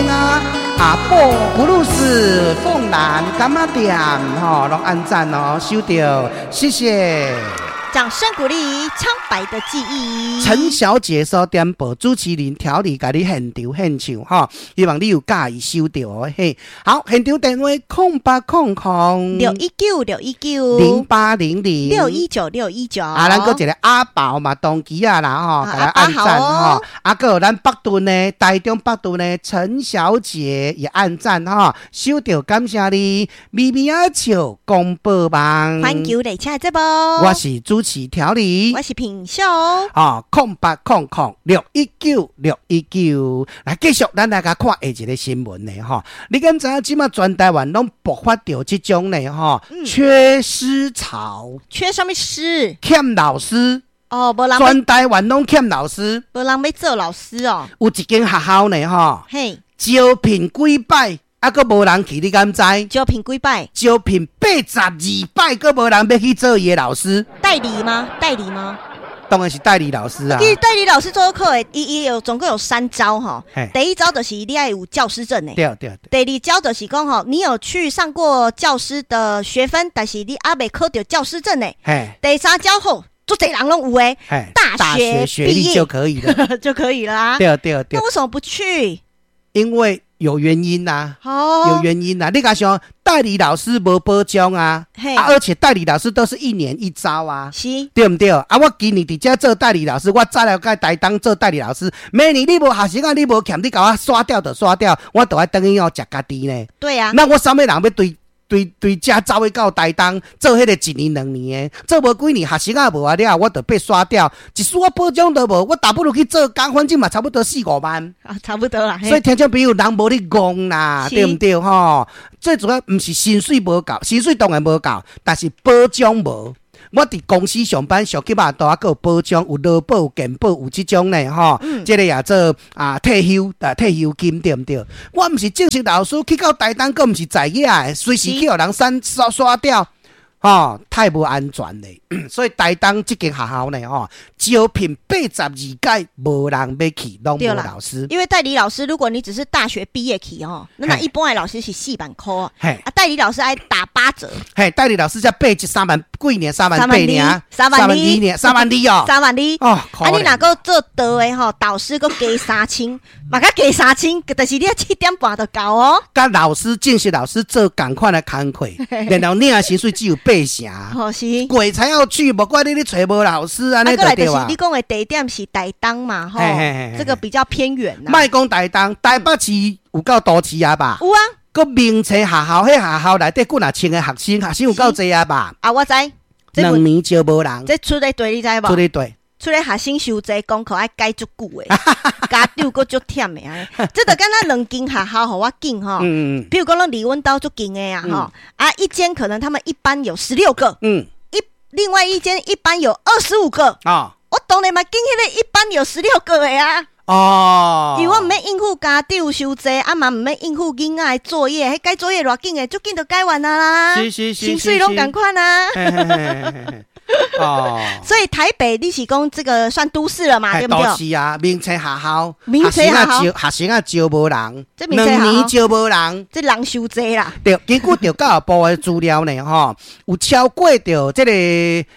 興啊，阿布布魯斯鳳蘭柑仔店吼，攏按讚哦，收著，謝謝。掌聲鼓勵，蒼白的記憶。陳小姐所點播，主持人調理共你現場獻唱吼，希望你有佮意收著哦嘿。好，現場電話0800 619-619 0800 619-619。啊，咱閣一個阿寶嘛，當機啊啦吼，共咱按讚吼。啊，閣有咱北屯的台中北屯的陳小姐也按讚吼，收著感謝你，咪咪仔笑廣播網，環球列車節目，我是主持調理，我是品秀。哦，0800-619-619，來繼續，咱來共看下一個新聞呢，吼。你敢知影這馬全台灣攏爆發著這種呢，吼，缺師潮。缺啥物師？欠老師。哦，無人。全台灣攏欠老師。無人欲做老師哦。有一間學校呢，吼。招聘幾擺，啊，閣無人去，你敢知？招聘幾擺？招聘82擺，閣無人欲去做伊的老師。代理嗎？代理嗎？當然是代理老師啊！其實代理老師做課的，伊伊有總共有三招吼。第一招就是你愛有教師證的。對對對。第二招就是講吼，你有去上過教師的學分，但是你猶未考著教師證的。第三招吼，足濟人攏有的。大學學歷就可以了，就可以了啊。對對對。那為什麼不去？因為有原因呐，有原因呐。你共想代理老師無保障啊，啊，而且代理老師都是一年一招啊，對毋對？啊，我今年佇遮做代理老師，我早了解台東做代理老師，明年你無學生啊，你無欠，你共我刷掉就刷掉，我就愛轉去哦食家己呢。對啊。那我啥物人欲對對對遮走去到台東做彼個一年兩年的，做無幾年學生仔無啊了，我就被刷掉，一絲仔保障都無，我倒不如去做工，反正嘛差不多四五萬啊，差不多啦。所以聽眾朋友，人無咧戇啦，對毋對吼？最主要毋是薪水無夠，薪水當然無夠，但是保障無。我佇公司上班，上起碼都還閣有保障，有勞保、有健保，有這種呢吼。這個也做啊退休啊退休金對毋對？我毋是正式老師，去到台東閣毋是在業的，隨時去予人刪刷刷掉，吼，太無安全咧。所以台東這間學校呢，吼，招聘82屆無人欲去，攏無老師。因為代理老師，如果你只是大學畢業去吼，那一般的老師是4萬塊啊，啊，代理老師愛打8折。嘿，代理老師才83萬，幾年3萬8爾， 3萬2 爾，3萬2哦， 3萬2 哦。啊，你若閣做導的吼，導師閣加3000，嘛閣加三千，但是你7點半就到哦。佮老師正式老師做仝款的工課，然後領薪水只有八成。哦，是。鬼才要去，無怪你咧揣無老師按呢就對啊。你講的地點是台東嘛，吼，這個比較偏遠啦。莫講台東，台北市有夠都市啊吧？有啊。閣明冊學校，彼學校內底幾若千個學生，學生有夠濟啊吧？啊，我知。兩年招無人。這出咧對，你知無？出咧對。出咧學生傷濟，功課愛改足久的，家長閣足忝的按呢。這就敢若兩間學校予我揀吼，比如講咱離阮兜足近的啊吼，啊一間可能他們一班有16個，另外一間一班有25個啊，我當然嘛揀彼個一班有十六個的啊。因為我毋免應付家長傷濟，啊嘛毋免應付囡仔的作業，彼改作業偌緊的，足緊就改完啊啦。薪水攏仝款啊。所以台北你是講這個算都市了嘛？對不對？都市啊，明冊學校，明冊學校，學生仔招無人，兩年招無人，這人傷濟啦。對，根據著教育部的資料呢，吼，有超過著這個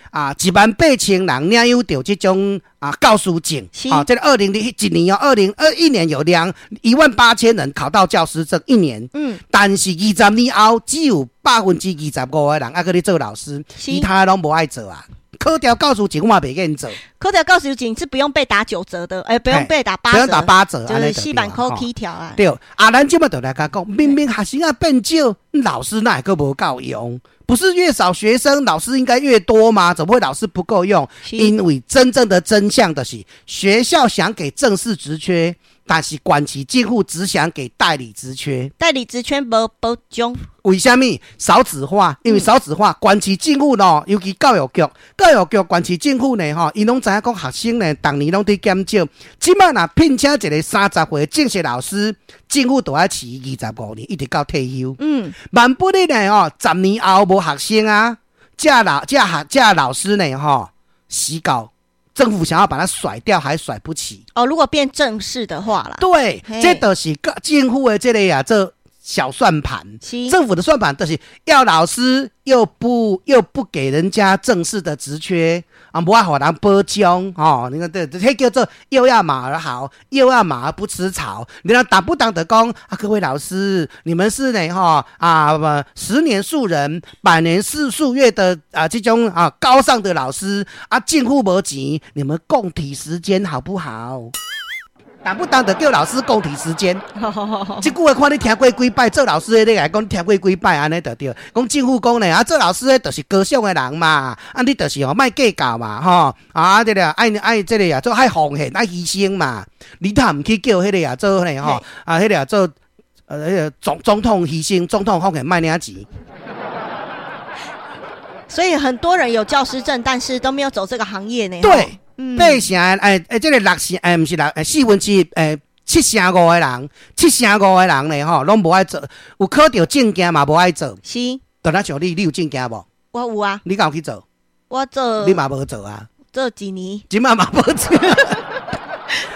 啊1萬8千人領有著這種啊教師證。啊，這個2001年哦，2021年有1萬8千人考到教師證一年。但是20年後只有25%的人猶閣咧做老師，其他攏無愛做啊。考著教師證我嘛袂願做。考著教師證是不用被打9折的，欸，不用被打八折，不用打八折，就是4萬塊起跳啊。對，啊，咱這馬就來共講，明明學生仔變少，老師哪會閣無夠用？不是越少學生，老師應該越多嗎？怎麼會老師不夠用？因為真正的真相的是，學校想給正式職缺，但是縣市政府只想給代理職缺。代理職缺無保障。為啥物？少子化，因為少子化，縣市政府咯，尤其教育局，教育局縣市政府呢，吼，𪜶攏知影講學生呢，逐年攏佇減少。這馬若聘請一個30歲正式老師，政府就愛飼25年，一直到退休。萬不得呢，吼，10年後無學生啊，這老這學這老師呢，吼，死到政府想要把它甩掉，還甩不起。哦，如果變正式的話啦，對，這就是政府的這个啊，這小算盤。政府的算盤就是要老師又不給人家正式的職缺啊，無愛予人保障哦。你看這這叫做又要馬兒好，又要馬兒不吃草。你看動不動的講啊，各位老師，你們是呢哈啊不十年樹人，百年樹樹葉的啊這種啊高尚的老師啊，政府無錢，你們共體時艱好不好？動不動就叫老師共體時艱，這句話看你聽過幾擺，做老師的你來講聽過幾擺，按呢就對。講政府講呢，啊做老師的就是高尚的人嘛，啊你就是吼莫計較嘛，吼啊這個愛愛這个啊做愛奉獻愛犧牲嘛，你若毋去叫彼个啊做呢吼啊彼个啊做彼个總統犧牲，總統奉獻莫領錢。所以很多人有教師證，但是都沒有走這個行業呢。對。八成欸欸，這个六成欸，毋是六欸，四分之一欸，七成五的人，七成五的人呢吼，攏無愛做，有考著證件嘛無愛做。是。就若像你，你有證件無？我有啊。你敢有去做？我做。你嘛無做啊？做一年。這擺嘛無做。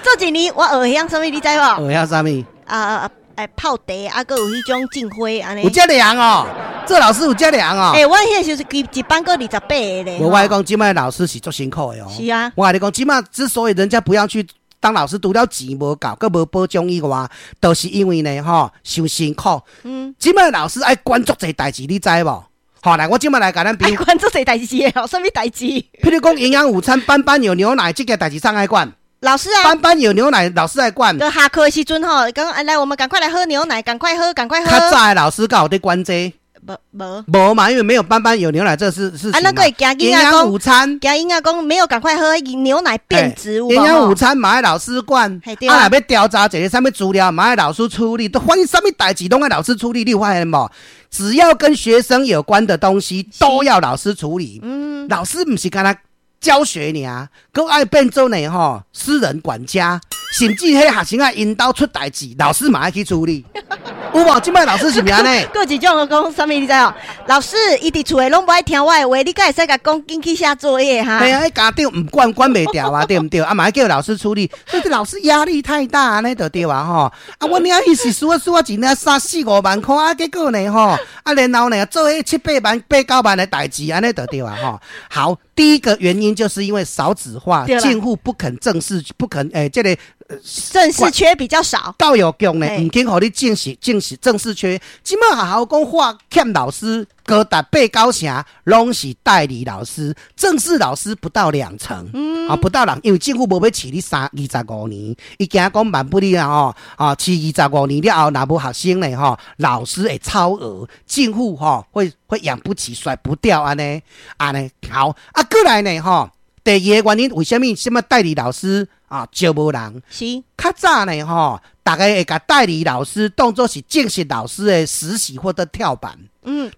做一年，我學曉啥物？你知無？學曉啥物？啊欸，泡茶啊，閣有彼種種花按呢。有遮涼哦，做老師有遮涼哦。欸，我彼時陣一班閣28個咧。無，我講這擺老師是足辛苦的哦。是啊。我共你講，這擺之所以人家不要去當老師，除了錢無夠，閣無保障以外，都是因為呢，吼，傷辛苦。這擺老師愛管足濟代誌，你知無？好，來，我這擺來共咱比。愛管足濟代誌的哦，啥物代誌？譬如講營養午餐，班班有牛奶，這個代誌誰愛管？老師啊，班班有牛奶，老師愛管。就下課的時陣吼，講來，我們趕快來喝牛奶，趕快喝，趕快喝。較早的老師敢有佇管這個？無無無嘛，因為沒有班班有牛奶這是事情。啊，那個會驚營養午餐，驚囡仔講沒有趕快喝牛奶變質。營養午餐嘛愛老師管，啊，若欲調查一個啥物資料嘛愛老師處理，都反正啥物代誌攏愛老師處理，你有發現無？只要跟學生有關的東西，都要老師處理。老師毋是干焦教學爾，閣愛變做呢吼私人管家，甚至彼學生仔𪜶兜出代誌，老師嘛愛去處理。有無？這擺老師是毋是按呢？閣一種講啥物？你知無？老師伊佇厝內攏無愛聽我的話，你敢會使共講緊去寫作業哈？嘿啊，彼家長毋管管袂牢啊，對毋對？啊嘛愛叫老師處理，所以這老師壓力太大，按呢就對啊吼。啊，我領伊是輸啊輸啊，一領三四五萬箍啊，結果呢吼，啊然後呢做彼七八萬、八九萬的代誌，按呢就對啊吼。好，第一個原因就是因為少子化，政府不肯正式，不肯欸，這個正式缺比較少。教育局呢，毋肯予你正式、正式、正式缺。這擺學校講話欠老師高達八九成，攏是代理老師，正式老師不到兩成。啊，不到兩，因為政府無欲飼你三二十五年，伊驚講萬不你啊吼，啊飼二十五年了後，若無學生呢吼，老師會超額，政府吼會養不起，甩不掉按呢，按呢好啊，過來呢吼，第二個原因為啥物？啥物代理老師啊招無人？較早呢吼，逐家會共代理老師當做是正式老師的實習或者跳板。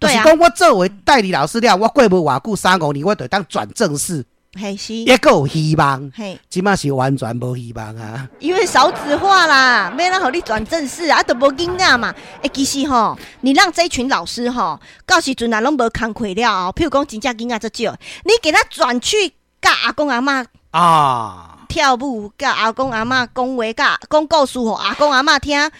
就是講我作為代理老師了，我過無偌久三五年，我就當轉正式。嘿是，抑閣有希望。這擺是完全無希望啊！因為少子化啦，欲按怎予你轉正式啊，都無囡仔嘛。欸，其實吼，你讓這群老師吼，到時陣若攏無工課了後，譬如講真正囡仔足少，你給他轉去教阿公阿嬤啊，跳舞，教阿公阿嬤講話，教講故事予阿公阿嬤聽，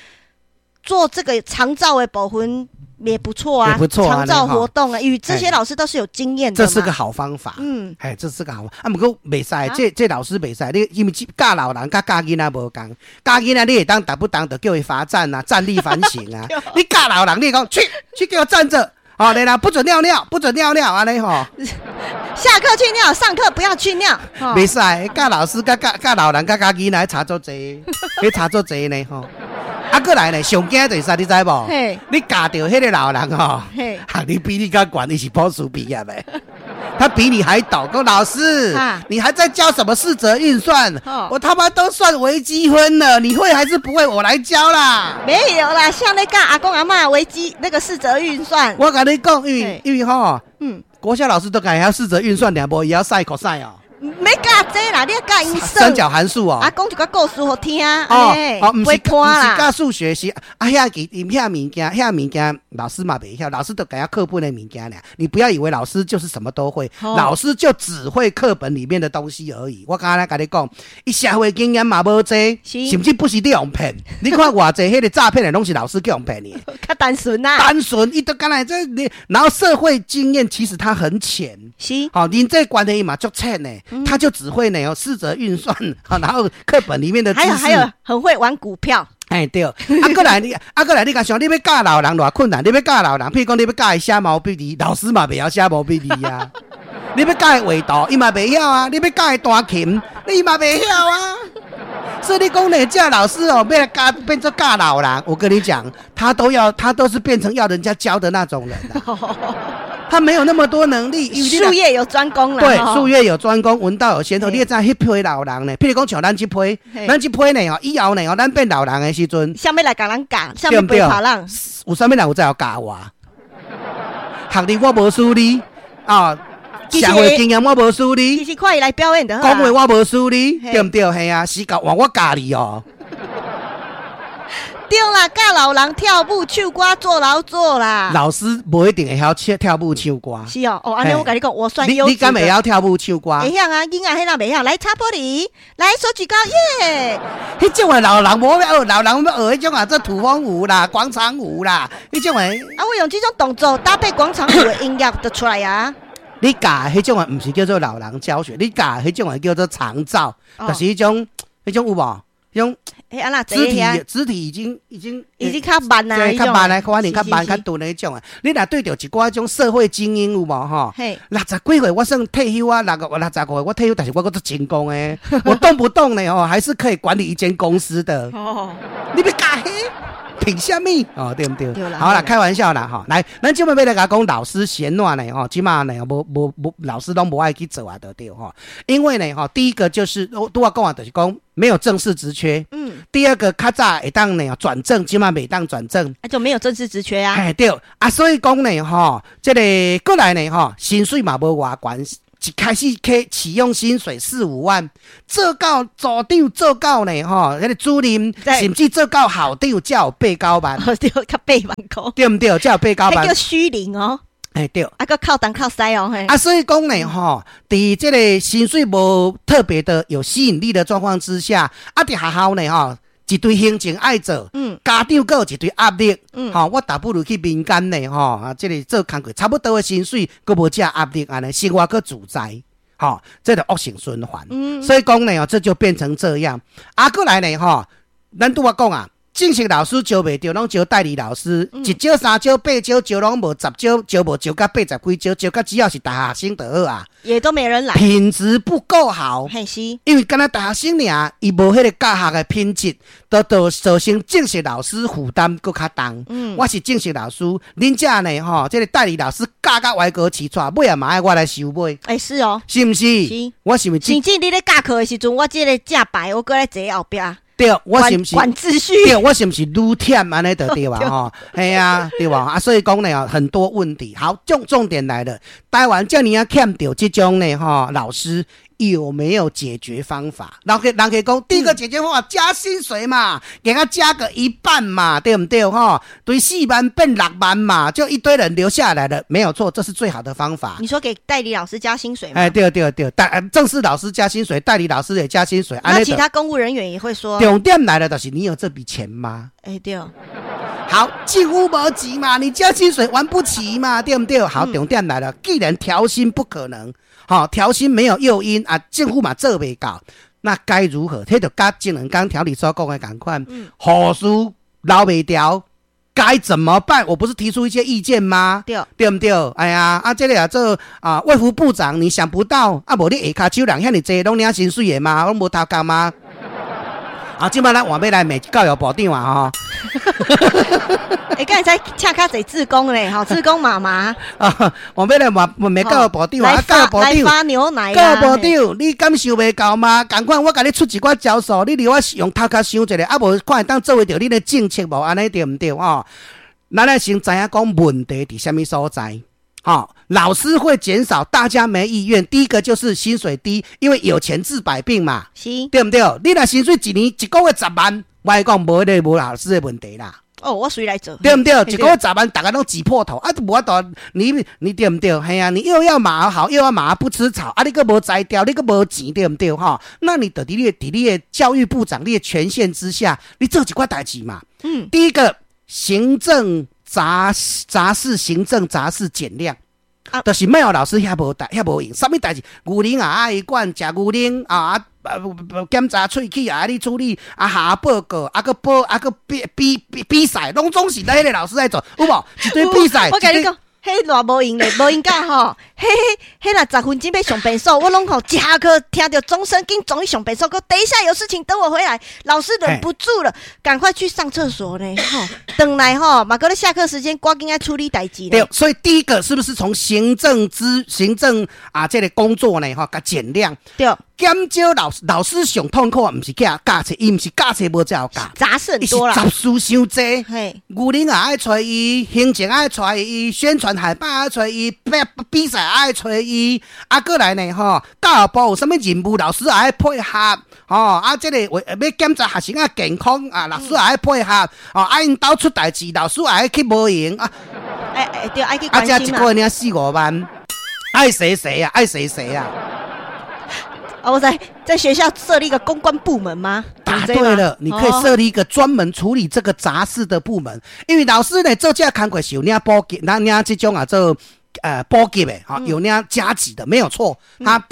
做這個長照的部分。也不錯啊，也不錯啊，長照活動啊，因為這些老師都是有經驗的。這是個好方法。哎，這是個好方法。啊，毋過袂使，這老師袂使，你因為教老人佮教囡仔無仝，教囡仔你會當動不動就叫伊罰站啊，站立反省啊。你教老人，你講去去給我站着，哦，對啦，不准尿尿，不准尿尿，按呢吼。下課去尿，上課不要去尿。袂使，教老師佮教教老人佮教囡仔差足濟，彼差足濟呢吼。啊，過來呢，上驚就是啥，你知無？你教著彼個老人吼，學歷比你較懸，伊是博士畢業的，他比你還懂。講老師，你還在教什麼四則運算？我他媽都算微積分了，你會還是不會？我來教啦。沒有啦，像那個阿公阿嬤微積那個四則運算。我共你講，因為吼，國小老師都共會曉四則運算，爾無伊曉算 cos 哦。沒欲教這啦，你愛教𪜶算。三角函數哦。啊，講一個故事予聽。哦哦，毋是毋是毋教數學是啊，遐其遐物件，遐物件老師嘛袂曉，老師都共課本的物件爾。你不要以為老師就是什麼都會，老師就只會課本裡面的東西而已。我剛才共你講，伊社會經驗嘛無濟，甚至不是你予騙。你看偌濟彼個詐騙的，攏是老師去予騙的。較單純啊。單純，伊都敢若這你，然後社會經驗其實他很淺。好，人際關係嘛足淺的，他就只會呢四則運算，然後課本裡面的知識。還有很會玩股票。哎對，啊閣來你，啊閣來你共想，你欲教老人偌困難，你欲教老人，譬如講你欲教伊寫毛筆字，老師嘛袂曉寫毛筆字啊。你欲教伊畫圖，伊嘛袂曉啊。你欲教伊彈琴，伊嘛袂曉啊。所以你講呢，這老師哦，欲來教變做教老人，我跟你講，他都要，他都是變成要人家教的那種人啊。他沒有那麼多能力，術業有專攻啦。對，術業有專攻，聞道有先後。你會知彼批老人呢？譬如講像咱這批，咱這批呢，以後呢，咱變老人的時陣，啥物來共咱教？啥物陪跑咱？有啥物人有才會教我？學歷我無輸你啊，社會經驗我無輸你。其實看伊來表演就好。講話我無輸你，對毋對？係啊，時間換我教你哦。對啦，教老人跳舞、唱歌、做勞作啦。老師無一定會曉唱跳舞、唱歌。是哦，哦，按呢我共你講，我算優質。你敢會曉跳舞、唱歌？會曉啊，囡仔彼若袂曉，來擦玻璃，來手舉高，耶！彼種的老人無欲學，老人欲學彼種啊，做土風舞啦、廣場舞啦，彼種的。啊，我用這種動作搭配廣場舞的音樂就出來啊。你教彼種的毋是叫做老人教學，你教彼種的叫做長照，就是彼種有無？種肢體已經已經已經較慢啦，較慢啊，可能較慢較鈍的彼種啊。你若對著一寡種社會精英有無吼？60幾歲我算退休啊，65歲我退休，但是我閣足成功的，我動不動呢吼，還是可以管理一間公司的。哦，你欲教彼？憑啥物？哦，對毋對？好啦，開玩笑啦，吼。來，咱這擺欲來共講老師嫌怎呢？吼，這馬呢，無無無，老師攏無愛去做啊，就對吼。因為呢，吼，第一個就是我拄仔講啊，就是講沒有正式職缺。第二個，較早會當呢轉正，這馬袂當轉正。啊，就沒有正式職缺啊。哎，對。啊，所以講呢，吼，這個過來呢，吼，薪水嘛無偌懸。一開始開啟用薪水四五萬，做到組長做到呢，吼，彼個主任，甚至做到校長，才有八九萬，對，較8萬塊，對毋對？才有八九萬。彼叫虛齡哦。哎對。啊，閣靠東靠西哦，啊，所以講呢，吼，佇這個薪水無特別的有吸引力的狀況之下，啊，佇學校呢，吼，一堆行政愛做，家長閣有一堆壓力，吼，我倒不如去民間呢，吼，啊，這個做工課差不多的薪水，閣無這壓力，按呢生活閣自在，吼，這就惡性循環。所以講呢，這就變成這樣。啊，閣來呢，吼，咱拄仔講啊，正式老師招袂著，攏招代理老師，一招、三招、八招，招攏無，十招招無，招到80幾招，招到只要是大學生就好啊。也都沒人來，品質不夠好。嘿是，因為敢若大學生爾，伊無彼個教學的品質，都造成正式老師負擔閣較重。我是正式老師，恁遮呢吼，這個代理老師教甲歪哥起錯，尾仔嘛愛我來收尾。欸，是哦，是毋是？是。我是毋是？甚至你咧教課的時陣，我這個正牌，我閣咧坐後壁。對，我是毋是？管秩序。對，我是毋是愈忝按呢就對啊？吼，係啊，對吧？啊，所以講呢，很多問題。好，重點來了，台灣遮爾仔欠著這種呢，吼，老師有沒有解決方法？人家講，第一個解決方法加薪水嘛，給他加個一半嘛，對毋對？吼，對，4萬變6萬嘛，就一堆人留下來了，沒有錯，這是最好的方法。你說給代理老師加薪水嗎？哎，對對對，正式老師加薪水，代理老師也加薪水。那其他公務人員也會說。重點來了，就是你有這筆錢嗎？哎，對。好，政府無錢嘛，你加薪水玩不起嘛，對毋對？好，重點來了，既然調薪不可能，好，調薪沒有誘因啊，政府嘛做袂到，那該如何？這就佮前兩工調理所講的仝款，護士留袂牢，該怎麼辦？我不是提出一些意見嗎？對，對毋對？哎呀，啊，這個啊做啊，衛福部長，你想不到啊？無你下跤手人遐爾濟，攏領薪水的嗎？攏無頭殼嗎？啊，這擺咱換欲來罵教育部長啊！吼，欸，敢會使請較濟志工咧，吼，志工媽媽。啊，換欲來罵罵教育部長啊！教育部長來發牛奶。教育部長，你感受袂到嗎？仝款，我共你出一寡招數，你留我用頭殼想一下，啊，無看會當做會著恁的政策無？按呢對毋對？吼，咱愛先知影講問題佇啥物所在。好，老師會減少，大家沒意願。第一個就是薪水低，因為有錢治百病嘛，對毋對？你若薪水一年一個月10萬，我講無彼個無老師的問題啦。哦，我隨來做，對毋對？一個月十萬，逐家攏擠破頭啊，無法度，你對毋對？嘿啊，你又要馬兒好，又要馬兒不吃草，啊，你閣無才調，你閣無錢，對毋對？吼，那你就佇你的教育部長你的權限之下，你做一寡代誌嘛。第一個行政雜事，行政雜事減量。啊，就是莫予老師遐無代遐無閒，啥物代誌？牛奶也愛管，食牛奶啊，檢查喙齒也愛你處理，啊，下報告，啊，閣報，啊，閣比賽，攏總是彼個老師在做，有無？一堆比賽。我共你講，彼偌無閒咧，無閒甲吼，彼若10分鐘欲上便所，我攏吼一下課聽著鐘聲，緊衝去上便所，閣等一下有事情等我回來，老師忍不住了，趕快去上廁所呢，吼，轉來吼，嘛閣咧下課時間，趕緊愛處理代誌。對，所以第一個是不是從行政啊這個工作呢？吼，共減量。對。減少老師上痛苦，毋是教冊，伊毋是教冊無才有教，雜事很多啦，雜事傷濟。牛奶也愛揣伊，行政愛揣伊，宣傳海報愛揣伊，比賽愛揣伊，啊，閣來呢吼，教育部有啥物任務，老師也愛配合，吼，啊，這個為欲檢查學生仔健康啊，老師也愛配合，哦，啊，𪜶兜出代誌，老師也愛去無閒啊。欸欸，對，愛去關心啊。這一個月領四五萬，愛誰誰啊，愛誰誰啊。哦，我在學校設立一個公關部門嗎？答對了，你可以設立一個專門處理這個雜事的部門，因為老師呢做這個工課是有領補給，那領這種啊做補給的，哈，有領加給的，沒有錯。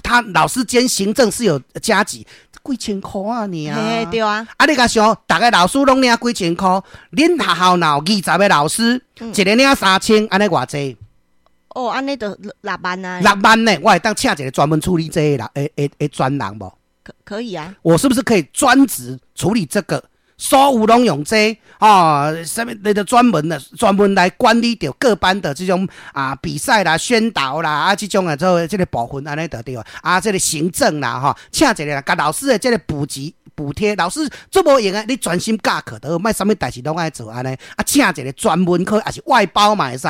他老師兼行政是有加給，幾千塊啊你啊，對啊。啊，你共想，逐个老師攏領幾千塊，恁學校若有20個老師，一个領3000，按呢偌濟？哦，按呢就6萬啊！ 6萬呢，我會當請一個專門處理這個人，的專人無？可以啊。我是不是可以專職處理這個？所有攏用這哦，啥物那個專門的，專門來管理著各班的這種啊比賽啦、宣導啦啊這種啊做這個部分按呢就對啊，這個行政啦吼，請一個人共老師的這個補給補貼，老師做無閒的，你專心教課就好，莫啥物代誌攏愛做按呢。啊，請一個專門科，抑是外包嘛會使，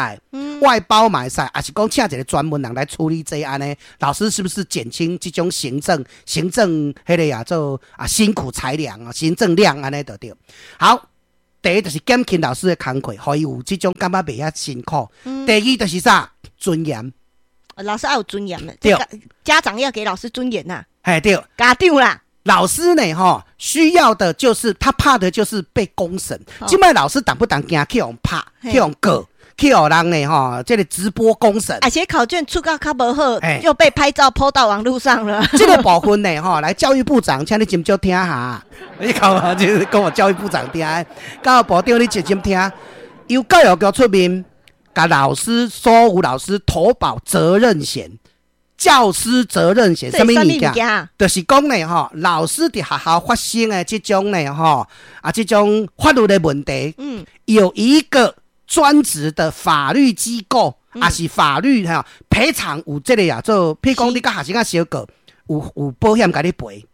外包嘛會使，抑是講請一個專門人來處理這按呢。老師是不是減輕這種行政彼個啊做啊辛苦裁量啊，行政量按呢就對。好，第一就是減輕老師的工課，予伊有這種感覺袂遐辛苦。第二就是啥？尊嚴。老師愛有尊嚴的，對，家長要給老師尊嚴吶。嘿，對，家長啦。老師呢，吼，需要的就是他怕的就是被公審。這擺老師動不動驚去予拍，去予告，去予人呢，吼，這個直播公審。而且考卷出甲較無好，又被拍照 PO 到網路上了。這個部分呢，吼，來教育部長，請你斟酌聽哈。你講啊，就是講我教育部長聽，教育部長你認真聽。由教育局出面，共老師所有老師投保責任險。教師責任險，啥物物件？就是講呢，吼，老師佇學校發生的這種呢，吼，啊，這種法律的問題，有一個專職的法律機構，抑是法律哈賠償有這個啊，做，譬如講你共學生仔相告，有保險共你賠，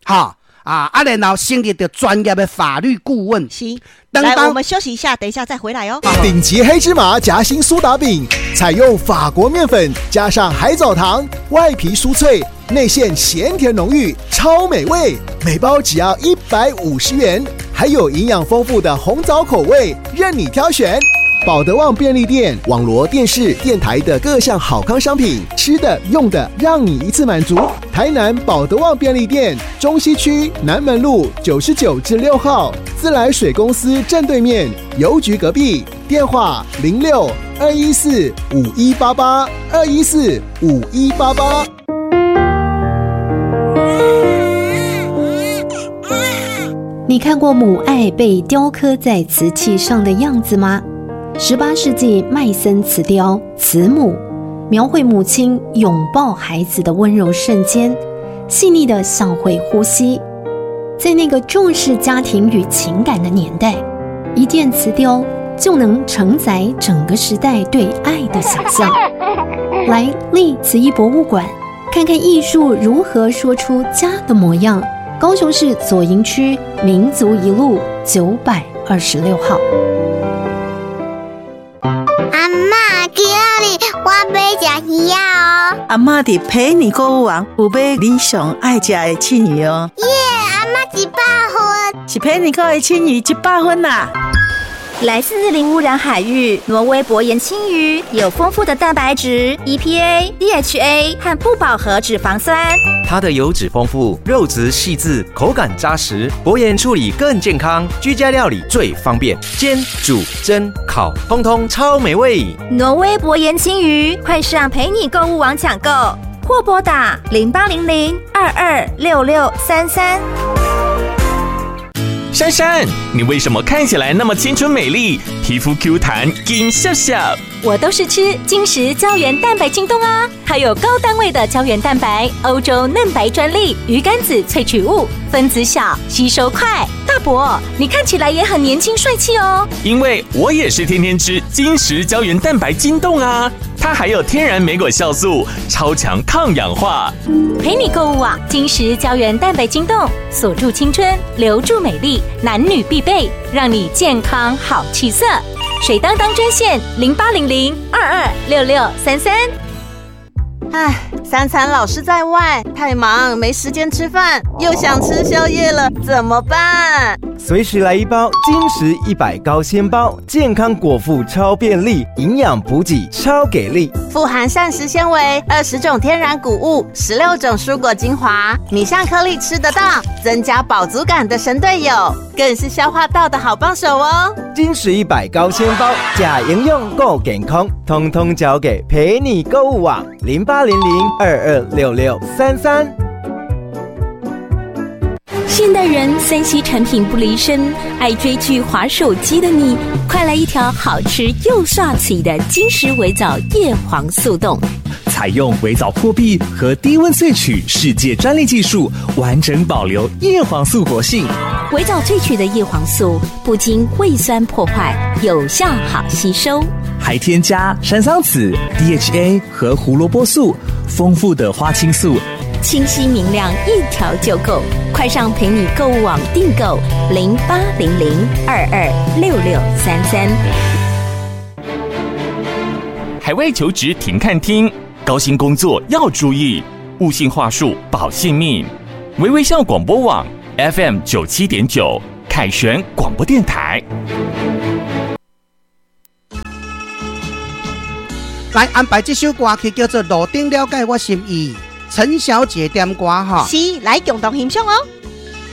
哈啊，然後成立著專業的法律顧問。是，來，我們休息一下，等一下再回來哦。頂級黑芝麻夾心蘇打餅，採用法國麵粉加上海藻糖，外皮酥脆，內餡鹹甜濃郁，超美味。每包只要150元，還有營養豐富的紅棗口味，任你挑選。寶德旺便利店、網羅電視、電台的各項好康商品，吃的、用的，讓你一次滿足。台南寶德旺便利店，中西區南門路99之6號，自來水公司正對面，郵局隔壁。電話06-214-5188，214-5188。你看過母愛被雕刻在瓷器上的樣子嗎？18世紀麥森瓷雕《慈母》，描繪母親擁抱孩子的溫柔瞬間，細膩得像會呼吸。在那個重視家庭與情感的年代，一件瓷雕就能承載整個時代對愛的想象。來麗瓷藝博物館，看看藝術如何說出家的模樣。高雄市左營區民族一路926號。阿嬤，今仔日我欲欲食魚仔哦。阿嬤佇陪你購物網有買你上愛食的刺魚哦。耶，阿嬤100分。是陪你購的青魚100分啦。來自零污染海域，挪威薄鹽鯖魚有豐富的蛋白質、EPA、DHA 和不飽和脂肪酸。它的油脂豐富，肉質細緻，口感扎實，薄鹽處理更健康，居家料理最方便，煎、煮、蒸、烤，通通超美味。挪威薄鹽鯖魚，快上陪你購物網搶購，或撥打0800226633。珊珊，你為什麼看起來那麼青春美麗，皮膚 Q 彈，金笑笑？我都是吃金石膠原蛋白精凍啊，它有高單位的膠原蛋白，歐洲嫩白專利魚肝子萃取物，分子小，吸收快。大伯，你看起來也很年輕帥氣哦。因為我也是天天吃金石膠原蛋白精凍啊，它還有天然莓果酵素，超強抗氧化。陪你購物網，金石膠原蛋白精凍，鎖住青春，留住美麗，男女必備，讓你健康好氣色。水當當專線0800226633。唉，三餐老是在外，太忙沒時間吃飯，又想吃宵夜了，怎麼辦？隨時來一包金石100高纖包，健康果腹超便利，營養補給超給力。富含膳食纖維、20種天然穀物、16種蔬果精華，米像顆粒吃得到，增加飽足感的神隊友，更是消化道的好幫手哦。金石100高纖包，呷營養夠健康，通通交給陪你購物網0800226633。現代人3C 產品不離身，愛追劇、滑手機的你，快來一條好吃又涮嘴的金石微藻葉黃素凍。採用微藻破壁和低溫萃取世界專利技術，完整保留葉黃素活性。微藻萃取的葉黃素不經胃酸破壞，有效好吸收，還添加山桑子、DHA 和胡蘿蔔素，豐富的花青素。清晰明亮，一條就夠。快上陪你購物網訂購0800226633。海外求職停看聽，高薪工作要注意，勿信話術保性命。微微笑廣播網 FM 97.9，凱旋廣播電台。來安排這首歌曲叫做《路頂了解我心意》。陳小姐點歌哈，是，來共同欣賞哦。